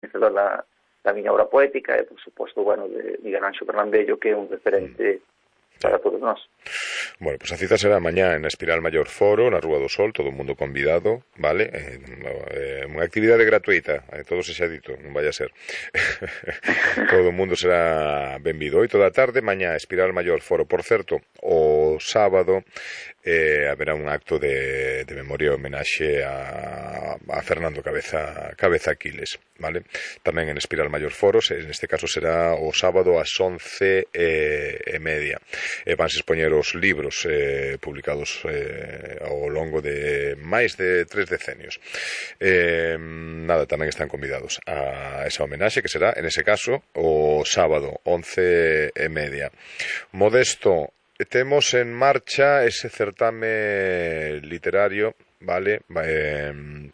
coñecedor da miña obra poética e, por suposto, bueno, de Miguel Anxo Bernabello, que é un referente para todos nós. Bueno, pues a cita será mañá en Espiral Maior Foro, na Rúa do Sol, todo o mundo convidado, vale? Unha actividade gratuita, todo se xa dito, non vai a ser. Todo o mundo será benvido. 8 da tarde, mañá, Espiral Maior Foro. Por certo, o sábado haberá un acto de memoria e homenaxe a Fernando Cabeza Aquiles, vale? Tamén en Espiral Maior Foro, neste caso será o sábado ás 11:30. Vanse expoñer os libros publicados ao longo de máis de 3 decenios. Nada, tamén están convidados a esa homenaxe, que será, en ese caso, o sábado 11:30. Modesto, temos en marcha ese certame literario, vale,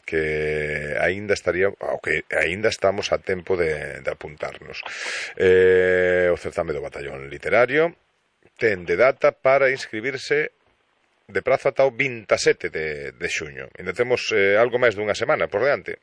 que aínda estaría, o que aínda estamos a tempo de apuntarnos. O certame do Batallón Literario ten de data para inscribirse de prazo ata o 27 de xuño. Ainda temos algo máis dunha semana por diante.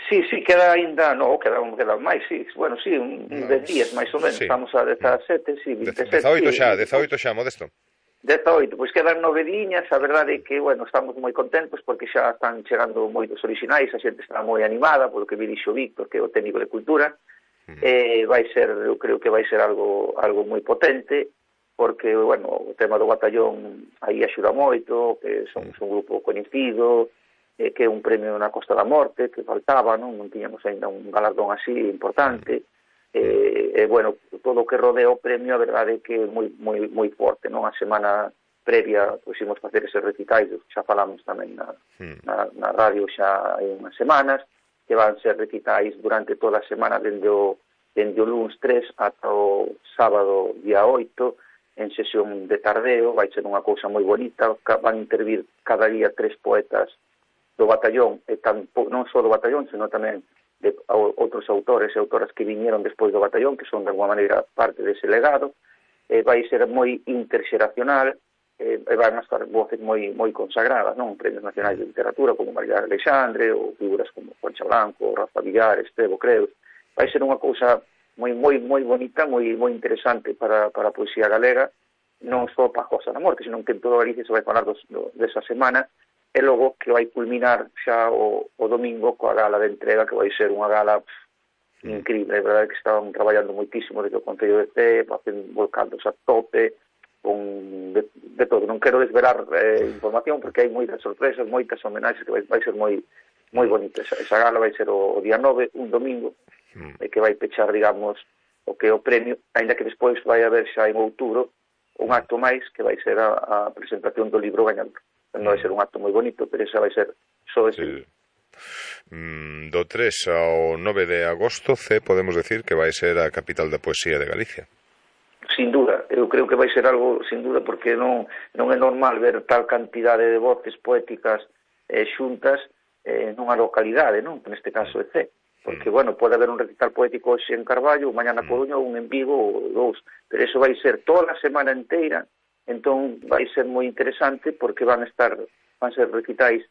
Sí, queda ainda, queda máis, sí. Bueno, sí, un 10 días máis ou menos. Sí. Estamos a 17, sí, 27. 18 xa, Modesto. 18, pois quedan 9 diñas. A verdade é que, bueno, estamos moi contentos porque xa están chegando moitos orixinais, a xente está moi animada polo que me dixo Víctor, que é o técnico de cultura. Vai ser, eu creo que vai ser algo moi potente, porque, bueno, o tema do batallón aí axuda moito, que somos un grupo coñecido, que é un premio na Costa da Morte, que faltaba, non tiñamos ainda un galardón así importante, bueno, todo o que rodea o premio, a verdade é que é moi forte, non? A semana previa, pois, imos facer ese recitais, xa falamos tamén na radio xa hai unhas semanas, que van ser recitais durante toda a semana, dende o lunes 3 ata o sábado día 8, en sesión de tardeo. Vai ser unha cousa moi bonita, van intervir cada día 3 poetas do batallón, e non só do batallón, senón tamén de outros autores e autoras que viñeron despois do batallón, que son de alguma maneira parte dese legado. Vai ser moi interxeracional, e van a estar voces moi consagradas, non? Premios nacionais de literatura como María Alexandre, ou figuras como Concha Blanco, Rafa Villar, Estevo Creus. Vai ser unha cousa moi bonita, moi interesante para a poesía galega, non só para a Costa da Morte, senón que en toda Galicia se vai falar desa semana, e logo que vai culminar xa o domingo coa gala de entrega, que vai ser unha gala increíble. É verdade que estaban traballando moitísimo desde o Concello de Cee, volcados a tope, con de todo. Non quero desvelar información, porque hai moitas sorpresas, moitas homenaxes, que vai ser moi bonita. Esa gala vai ser o día 9, un domingo, que vai pechar, digamos, o que é o premio, ainda que despois vai haber xa en outubro un acto máis, que vai ser a presentación do libro gañador. Non vai ser un acto moi bonito, pero esa vai ser só ese. Do 3 ao 9 de agosto, podemos decir que vai ser a capital da poesía de Galicia. Sin duda, eu creo que vai ser algo, sin duda, porque non é normal ver tal cantidade de voces poéticas xuntas nunha localidade, non? Neste caso é Cee. Porque, bueno, pode haber un recital poético hoxe en Carballo, mañá na Coruña, un en Vigo ou dous, pero iso vai ser toda a semana inteira. Entón vai ser moi interesante, porque van ser recitais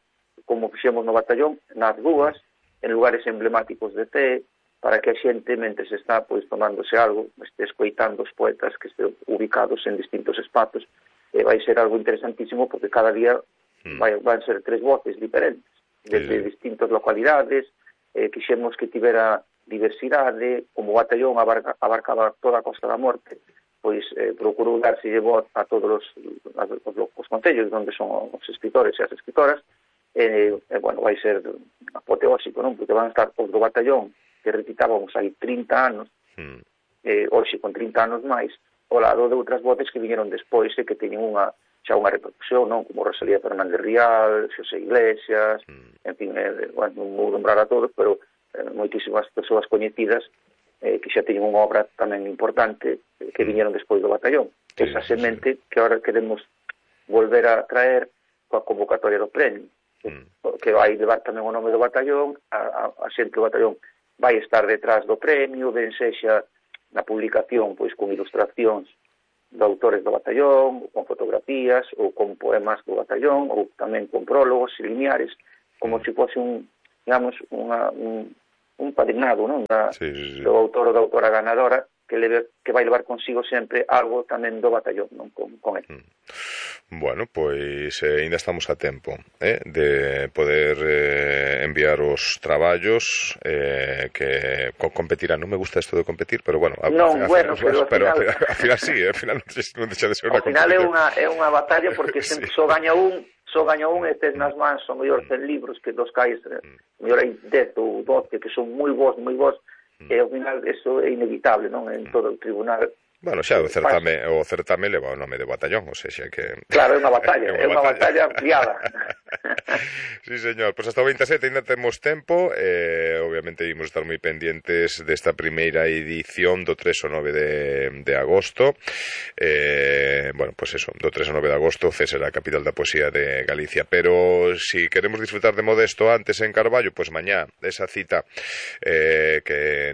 como fixemos no batallón, nas rúas, en lugares emblemáticos de Cee, para que a xente, mentres está pois tomándose algo, este escoitando os poetas que estén ubicados en distintos espazos. Vai ser algo interesantísimo, porque cada día van ser 3 voces diferentes, desde distintas localidades. Quixemos que tivera diversidade, como o batallón abarcaba toda a Costa da Morte, pois procurou darse voz a todos os concellos onde son os escritores e as escritoras. Bueno, vai ser apoteósico, non? Porque van estar os do batallón que recitábamos hai 30 anos, hoxe con 30 anos máis, ao lado de outras voces que viñeron despois e que teñen xa unha repercusión, non? Como Rosalía Fernández Rial, Xosé Iglesias, en fin, bueno, non vou nombrar a todos, pero moitísimas persoas coñecidas que xa teñen unha obra tamén importante que viñeron despois do batallón. Esa semente que agora queremos volver a traer coa convocatoria do premio, que vai levar tamén o nome do batallón. A xente do batallón vai estar detrás do premio, ben sexa na publicación pois con ilustracións de autores do batallón, ou con fotografías, ou con poemas do batallón, ou tamén con prólogos e lineares, como se fose un un padrinado, non? Sí. Do autor ou da autora ganadora, que vai levar consigo sempre algo tamén do batallón, non? Con ele. Bueno, pois ainda estamos a tempo de poder enviar os traballos que competirán. Non me gusta isto de competir, pero bueno, al final sí, al final non deixa de ser unha competición. Ao final é unha batalla porque sí. Só gaña un e tes nas mans o mellor 100 libros que dos cais, mellor hai 10 ou 12 que son moi bons, e ao final eso é inevitable, non? En todo o tribunal. Bueno, xa, o certame leva o nome de batallón, ou seja que... Claro, é unha batalla, é unha batalla ampliada. Sí, señor, pois hasta o 27 ainda temos tempo, obviamente ímos estar moi pendientes desta primeira edición do 3 ao 9 de agosto, bueno, pois eso, do 3 ao 9 de agosto, Cés será a capital da poesía de Galicia, pero si queremos disfrutar de Modesto antes en Carballo, pois mañá, esa cita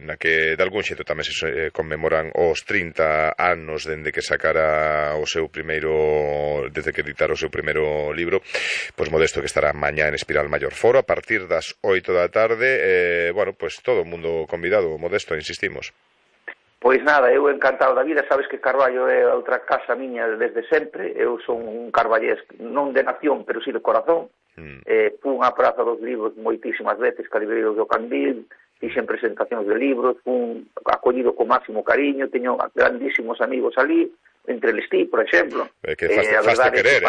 na que de algún xeito tamén se conmemoran os 30 anos dende que sacara desde que editara o seu primeiro libro, pois Modesto que estará mañá en Espiral Maior Foro a partir das 8 da tarde, bueno, pois todo o mundo convidado, Modesto, insistimos. Pois nada, eu encantado da vida, sabes que Carballo é outra casa miña desde sempre, eu son un carballés non de nación, pero si de corazón, fun á Praza dos Libros moitísimas veces, ca librería do Candil, fixen presentacións de libros, fun acollido con máximo cariño, teño grandísimos amigos ali, entre eles ti, por exemplo. Que faste querer,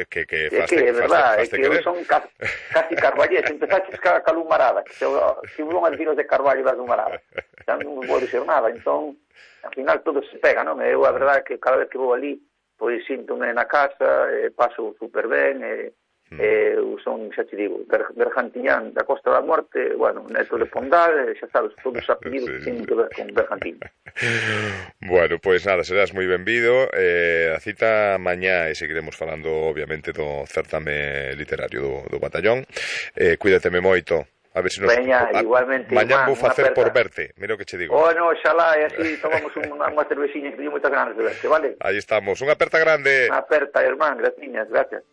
que é verdade, que eu son casi carballés, empezaches ca Lumarada, que hubo unhas vinos de Carballo das Lumarada, xa non vou dizer nada, entón, ao final todo se pega, non? Eu, a verdade, que cada vez que vou ali, pois síntome na casa, paso super ben, eu son, xa te digo, Bergantiñán da Costa da Morte, bueno, neto de Pondal, xa sabes, todos os apelidos que teñen que ver con Bergantiñán. Bueno, pois nada, serás moi benvido, a cita mañá e seguiremos falando, obviamente, do certame literario do batallón. Cuídateme moito. A ver se nos... igualmente. Mañá vou facer por verte, mira o que che digo. No, xalá, e así tomamos unha cervexiña que teño moitas ganas de verte, vale? Aí estamos, unha aperta grande. Unha aperta, irmán, graciñas, gracias.